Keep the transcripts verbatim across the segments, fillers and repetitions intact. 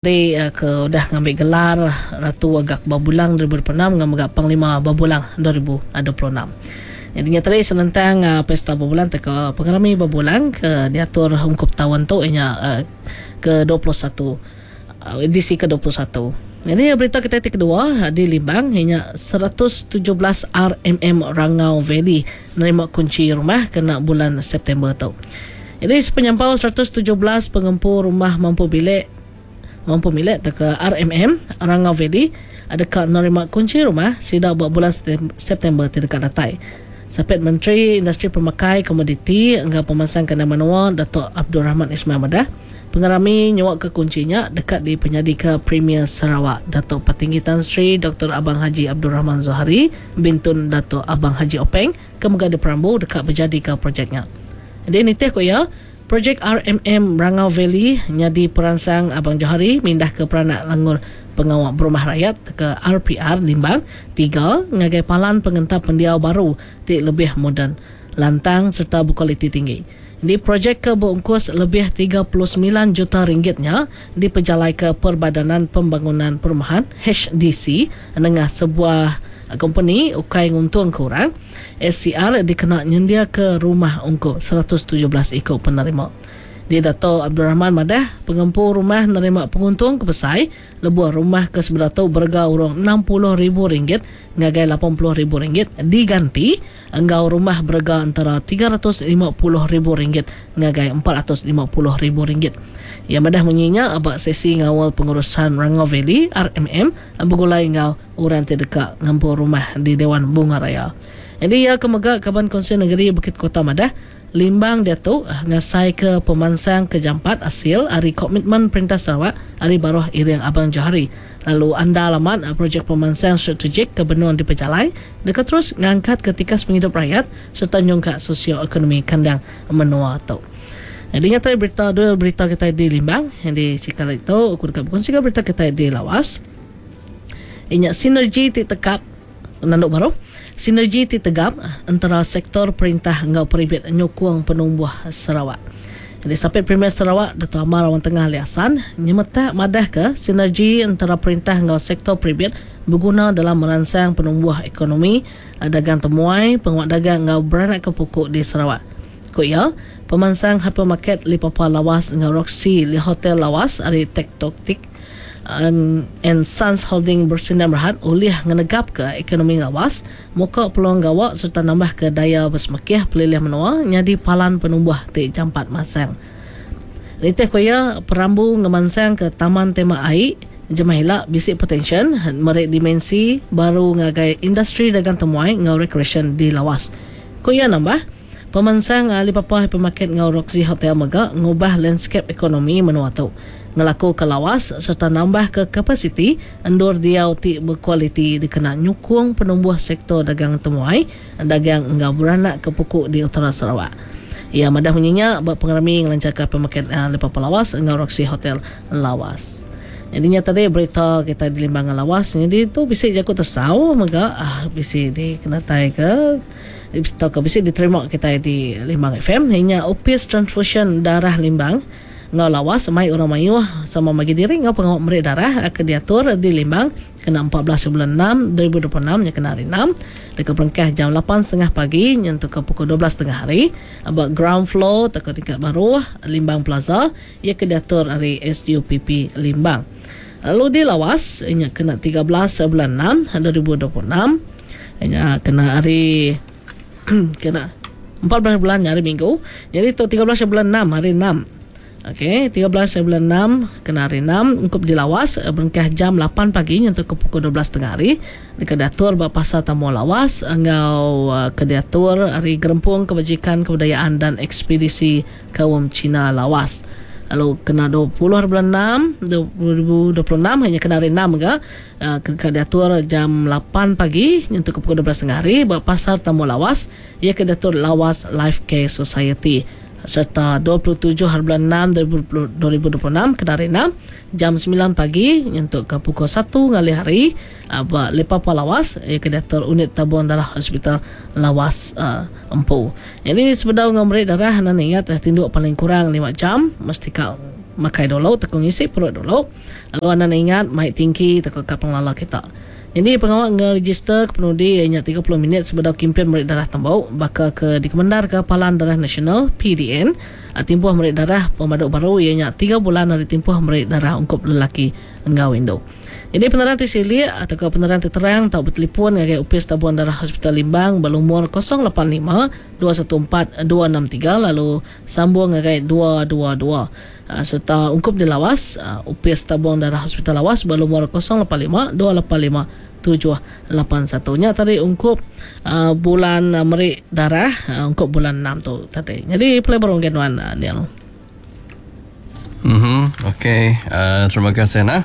Di ke udah ngambil gelar Ratu Agak Babulang dua ribu dua puluh enam dengan mega Panglima Babulang dua ribu dua puluh enam. Jadi nyata senentang uh, pesta Babulang atau ke pengerami Babulang ke diatur ungkup tahun tu inya uh, ke dua puluh satu, uh, edisi ke dua puluh satu. Jadi berita kita ti kedua di Limbang inya seratus tujuh belas R M M Rangau Valley nerima kunci rumah kena bulan September tu. Jadi sepenyampau seratus tujuh belas pengempu rumah mampu bilik mampu milik atau ke R M M Rangau Valley ada ka nerima kunci rumah sida buat bulan September tidak datai. Sapit Menteri Industri Pemakai Komoditi enggau Pemansang Kandang Menua Datuk Abdul Rahman Ismail Madah pengerami nyuak ke kuncinya dekat di penyadi ke Premier Sarawak Datuk Patinggi Tan Sri Doktor Abang Haji Abdul Rahman Zohari bintun Datuk Abang Haji Openg ke mega di Perambu dekat berjadi ke projeknya. Jadi nitih ko ya projek R M M Rangau Valley nyadi peransang Abang Johari mindah ke peranak Langur Pengawal Berumah Rakyat ke R P R Limbang tiga ngagai palan pengentap pendiau baru ti lebih moden, lantang serta berkualiti tinggi. Di projek ke berungkus lebih tiga puluh sembilan juta ringgitnya dipejalai ke Perbadanan Pembangunan Perumahan H D C dengan sebuah company ukai nguntung kurang S C R dikena nyendia ke rumah ungkup seratus tujuh belas ikut penerima. Di Dato' Abdul Rahman madah pengempu rumah nerima penguntung ke besai lebuh rumah ke sebelah tu berga urang enam puluh ribu ringgit ngagai lapan puluh ribu ringgit diganti enggau rumah berga antara tiga ratus lima puluh ribu ringgit ngagai empat ratus lima puluh ribu ringgit. Yang madah menyinya abak sesi ngawal pengurusan Rangau Valley R M M bergulai ngau orang terdekat ngempu rumah di Dewan Bunga Raya. Jadi ia kemega Kaban Kongsi Negeri Bukit Kota Madah Limbang dia tu ngasai ke pemansang ke jampat hasil hari komitmen Perintah Sarawak hari baruh iring Abang Johari. Lalu anda alamat projek pemansang strategik ke benua di Pejalai dekat terus ngangkat ketika penghidup rakyat serta nyungkak sosioekonomi kandang menua tu. Jadi nyata berita dua berita kita di Limbang yang di sekali itu aku dekat berkongsi berita kita di Lawas. Ingat sinergi ti tekap nanduk baru. Sinergi ti tegap antara sektor perintah enggau peribit nyukung penumbuh Sarawak. Jadi Sapit Premier Sarawak Dato' Amar Awang Tengah Ali Hasan nyemetak madah ke sinergi antara perintah enggau sektor peribit berguna dalam merangsang penumbuh ekonomi, dagang temuai, penguat dagang enggau beranak ke pokok di Sarawak. Ku ya, pemansang hypermarket Lipapa Lawas enggau Roxy Li Hotel Lawas ari Tektok and Sons Holding bersinar berhad oleh ngenegap ke ekonomi Lawas, muka peluang gawak serta nambah ke daya bersemakih pelilih menua nyadi palan penumbuh ti jampat masang. Nitih ku ya, perambu ngemansang ke Taman Tema Air Jemahila bisik potensial merik dimensi baru ngagai industri dagang temuai ngau recreation di Lawas. Ku ya nambah, pemansang Alibaba Hypermarket ngau Roxy Hotel mega ngubah landscape ekonomi menua tu. Ngelaku ke Lawas serta nambah ke kapasiti endur diau ti berkualiti dikena nyukung penumbuh sektor dagang temuai dagang enggau beranak ke pokok di Utara Sarawak. Ia madah menyinya buat pengerami ngelancarkan hypermarket Alibaba Lawas enggau Roxy Hotel Lawas. Jadinya tadi berita kita di Limbangan Lawas. Jadi tu bisik jaku tersau mega ah, bisik dikenatai ke atau ke bisik diterima kita di Limbang F M. Inya Opis Transfusion Darah Limbang ngau Lawas mai orang mayuh sama bagi diri ngau pengawal merik darah ke diatur di Limbang kena empat belas bulan enam dua ribu dua puluh enam nya kena hari enam dekat berengkah jam lapan setengah pagi nyentuh ke pukul dua belas setengah hari about ground floor atau tingkat baru Limbang Plaza ia ke diatur hari S U P P Limbang. Lalu di Lawas inya kena tiga belas bulan enam dua ribu dua puluh enam inya kena hari kena empat belas bulan hari Minggu. Jadi tu tiga belas bulan enam hari enam. Okey, tiga belas bulan enam kena hari enam ungkup di Lawas berengkah jam lapan pagi nyentuh ke pukul dua belas setengah hari dekat diatur ba pasar Tamu Lawas enggau ke diatur hari Gerempung Kebajikan Kebudayaan dan Ekspedisi Kaum Cina Lawas. Lalu kena dua puluh bulan enam dua ribu dua puluh enam hanya kena hari enam ke ke diatur jam lapan pagi nyentuh ke pukul dua belas setengah hari ba pasar Tamu Lawas ia ke diatur Lawas Life Care Society. Serta dua puluh tujuh hari bulan enam dua ribu dua puluh enam kena hari enam jam sembilan pagi nyentuh ke pukul satu ngalih hari ba Lepapa Lawas ia ke diatur unit tabung darah Hospital Lawas uh, Empu. Jadi sebedau ngau merik darah nan ingat tinduk paling kurang lima jam mesti ka Makai dulu tauka ngisi perut dulu. Lalu anang ingat mai tingki tauka kad pengelala kita. Nyadi pengawa ngerejister ke penudi iya nya tiga puluh minit sebedau kimpin meri darah tembu baka ke dikemendarka Palan Darah Nasional, P D N. Timpuh meri darah pemadu baru iya nya tiga bulan ari timpuh meri darah ungkup lelaki enggau indu. Nyadi penerang ti silik tauka penerang ti terang tau betelefon ngagai Opis Tabung Darah Hospital Limbang ba lumur kosong lapan lima dua satu empat dua enam tiga lalu sambung ngagai dua dua dua. Sereta ungkup di Lawas, Opis Tabung Darah Hospital Lawas ba lumur kosong lapan lima dua lapan lima tujuh lapan satu. Nya tadi ungkup bulan meri darah ungkup bulan enam tu tadi. Nyadi pulai baru ngagai nuan Neil. Mhm, okey. Uh, terima kasih nah.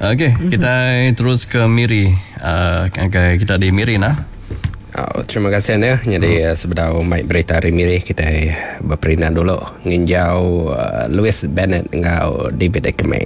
Okey, mm-hmm. Kita terus ke Miri. Uh, ngagai kita di Miri nah. Oh, terima kasih ya. Jadi hmm. sebedau mai berita hari Miri kita berperindang dulu nginjau uh, Louis Bennett enggau David Ekme.